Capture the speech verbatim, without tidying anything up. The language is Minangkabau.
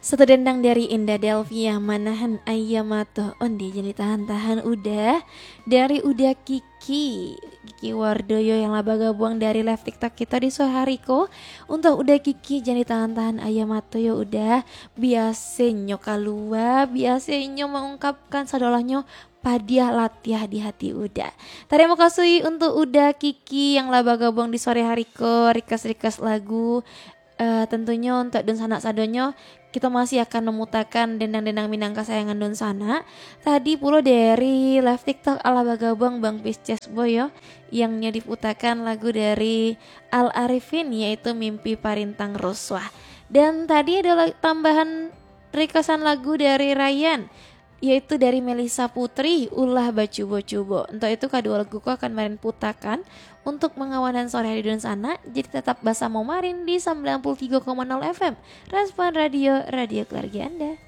Satu dendang dari Indah Delvia, Manahan Aia Mato. Onde jan ditahan-tahan Uda. Dari Uda Kiki, Kiki Wardoyo yang lah bagabuang dari live TikTok kita di sore hari ko. Untuk Uda Kiki, jan ditahan-tahan aia mato yo Uda. Biasenyo kalua, biasenyo maungkapkan sadolahnyo padiah latiah di hati Uda. Tarimo kasih untuk Uda Kiki yang lah bagabuang di sore hari ko, request-request lagu. Eh, tentunyo untuk dunsanak sadonyo, kita masih akan mamutakan dendang-dendang Minang kasayangan dunsanak. Tadi pulo dari live TikTok alah bagabuang Bang Pisces Boy yo, yang nyo diputakan lagu dari Al Arifin, yaitu Mimpi Parintang Rusuah. Dan tadi ada la-, tambahan requestan lagu dari Ryan, yaitu dari Melisa Putri, Ulah Bacubo-cubo. Untuk itu, kaduo lagu ko akan Marin putakan untuk mangawanan sore hari dunsanak. Jadi, tetap basamo Marin di sembilan puluh tiga koma nol F M. Respon Radio, radio keluarga Anda.